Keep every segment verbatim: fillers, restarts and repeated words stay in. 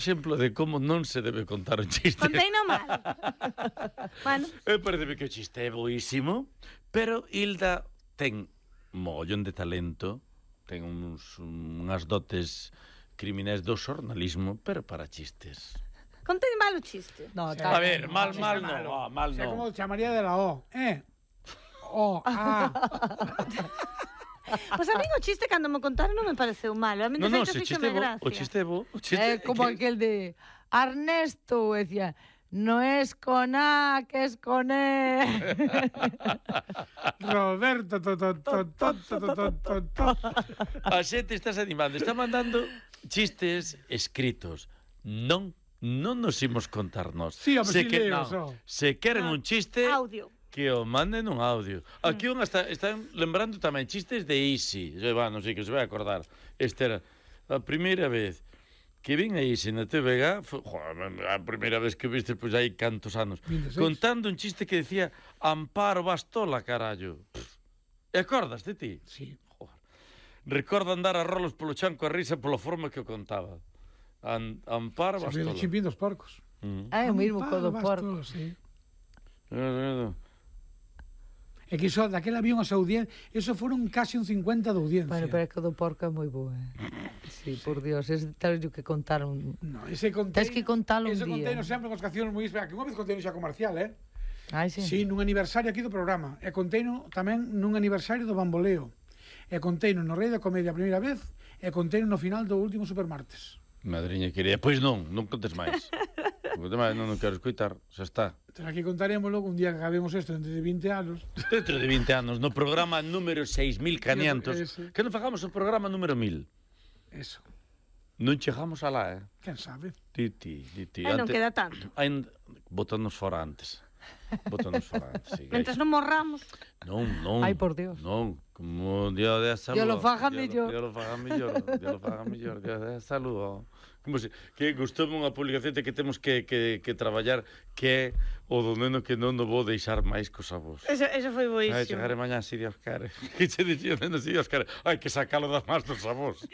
exemplo de como non se debe contar un chiste. Contei no mal. Bueno. Me parece que o chiste é boísimo, pero Hilda ten mogollón de talento, ten uns, unhas dotes criminais do xornalismo, pero para chistes. Contei mal o chiste. No, A ver, mal, mal no, ah, mal Sei no. como chamaría de la O, eh? O, A. Pois a mí o chiste cando me contaron non me pareceu malo. A mí de No, no, feito se fíxome chiste bo, gracia. o chiste bo, o chiste É como que- aquel de Ernesto, decía, no es con A, que es con E. Roberto, to, to, to, to, to, to, to, to, to. A xente estás animando, está mandando chistes escritos. Non, non nos imos contar nós. Sí, home, se sí que, leo, non, só. se queren un chiste, Audio. que o manden un audio. Aquí un está, están lembrando tamén chistes de Easy. Se va, non sei que se vai acordar. Esta era a primeira vez que vin a Easy na T V G, foi, joder, a primeira vez que viste, pois hai cantos anos, vinte e seis. contando un chiste que decía Amparo Bastola, carallo. Pff. E acordas de ti? Sí. Joder. Recordo andar a rolos polo chanco a risa pola forma que o contaba. An, Amparo Se Bastola. ve chimpín dos porcos. Mm. É o mismo co do Amparo porco. Bastola, sí. Eh, É que iso, daquela había unhas audiencias, eso foron casi un cincuenta de audiencia. Bueno, pero é que o do porco é moi boa. Eh? Sí, por Dios, es tal que contaron. No, ese conteino, Tens que contalo un ese día. conteino sempre con cancións moi espera, que unha vez conteino xa comercial, eh? Ai, sí. Sí, nun aniversario aquí do programa. E conteino tamén nun aniversario do Bamboleo. E conteino no Rei da Comedia a primeira vez, e conteino no final do último Supermartes. Madriña querida, pois non, non contes máis. Non contes máis, non, non quero escoitar, xa está. Entón aquí contaremos logo un día que acabemos isto dentro de vinte anos. Dentro de vinte anos, no programa número seis mil quinientos, Ese. que non fagamos o programa número mil. Eso. Non chegamos alá, eh? Quen sabe? Ti, ti, ti, ti. Eh, non queda tanto. Ain... Botanos fora antes. Botanos fora antes, sí. Mentres non morramos. Non, non. Ai, por Dios. Non, como Dios de salud. Dios lo faga mellor. Dios lo faga mellor. Dios lo faga mellor. Dios de salud. Como se, que gustoume unha publicación de que temos que, que, que traballar que é o do neno que non o vou deixar máis cos avós. Eso, eso foi Ai, boísimo. chegaré mañá, si Dios quere. Que che dicía o neno, si Dios quere. Hai que sacalo das más dos avós.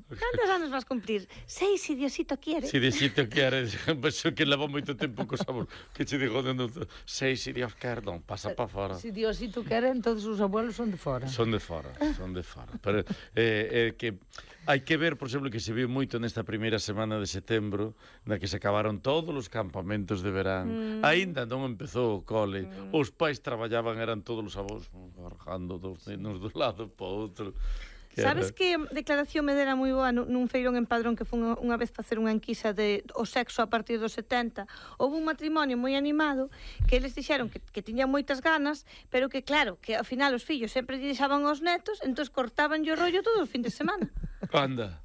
Cantos anos vas cumplir? Seis, si Diosito quiere. Si Diosito quere, penso que leva moito tempo cos avós. Que che digo, neno, sei, si Dios quere, non, pasa pa fora. Si Diosito quere, entonces os abuelos son de fora. Son de fora, son de fora. Pero eh, eh, que hai que ver, por exemplo, que se viu moito nesta primeira semana de setembro, na que se acabaron todos os campamentos de verán. Mm. Aínda non empezou o cole. Mm. Os pais traballaban, eran todos os avós arrojando dos nenos do lado para outro. Que Sabes era... que declaración me dera moi boa nun feirón en Padrón que foi unha, unha vez facer unha enquisa de o sexo a partir dos setenta. Houve un matrimonio moi animado que eles dixeron que, que tiñan moitas ganas, pero que claro, que ao final os fillos sempre lle deixaban aos netos, entón cortaban o rollo todo o fin de semana. Anda.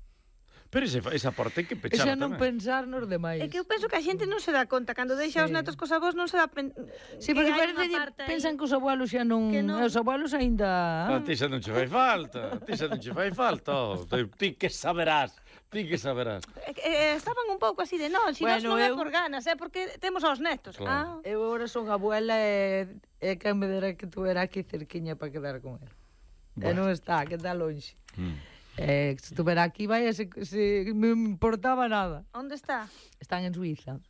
Pero ese, esa parte hai que pechar Esa non tamén. pensar nos demais. É que eu penso que a xente non se dá conta cando deixa Sí. os netos cos avós non se dá pen... Sí, que porque hai unha parece que parte aí. pensan que os abuelos xa non... Que non. Os abuelos aínda... A ti xa non che fai falta, a ti xa non che fai falta. Oh, ti, ti que saberás, ti que saberás. Eh, eh, estaban un pouco así de non, si Bueno, nos non é eu- por ganas, é porque temos aos netos. Claro. Ah. Eu agora son abuela e, e que me dera que tu era aquí cerquiña para quedar con el. E Bueno. non está, que está longe. Mm. Eh, se estuvera aquí, vai, se, se me importaba nada. Onde está? Están en Suiza.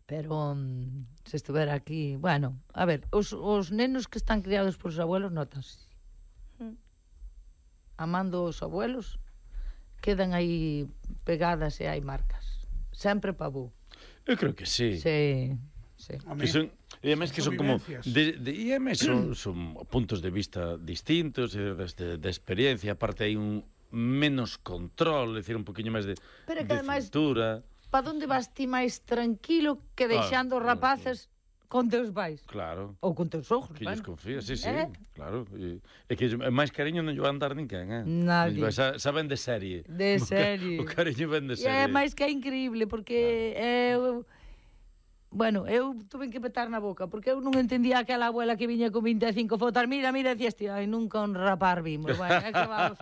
Pero um, se estuvera aquí... Bueno, a ver, os, os nenos que están criados por os abuelos notanse. Mm. Amando os abuelos, quedan aí pegadas e hai marcas. Sempre pa bo. Eu creo que sí. Sí, sí. Que son, e además que son como vivencias. de, de, e además son, son puntos de vista distintos e de, de, de experiencia, aparte hai un menos control, é dicir, un poquinho máis de, Pero que de ademais- cintura. Pa onde vas ti máis tranquilo que deixando os claro, rapaces con teus pais? Claro. Ou con teus ojos, Que lles bueno. confía, sí, sí, Eh? claro. E, e que é máis cariño non lle van dar ninguén, eh? Nadie. Sa, saben de serie. De O ca- serie. O cariño ven de E serie. é máis que é increíble, porque eu... Bueno, eu tuve que petar na boca, porque eu non entendía aquela abuela que viña con vinte e cinco fotos. Mira, mira, decía, este, ai, nunca un rapar vimos. Bueno, é que vamos.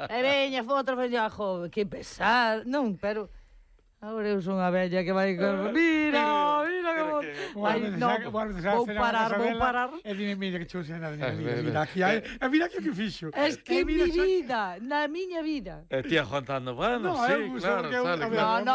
E veña fotos, veña, jo, que pesar. Non, pero... Agora eu son a bella que vai con... Mira, mira que favor. que- Vou Ai, veces no, a- vou veces a vou cenar a parar, casa vou dela parar. E dime, mira que chuse nada, Eh, mira, eh, mira, aquí hai, e mira que o que fixo. Es que E en mi mira, xa- vida, na miña vida. E tía Juan Tando, bueno, No, sí, eu, claro, só que eu- sale, a ver, claro. No, no,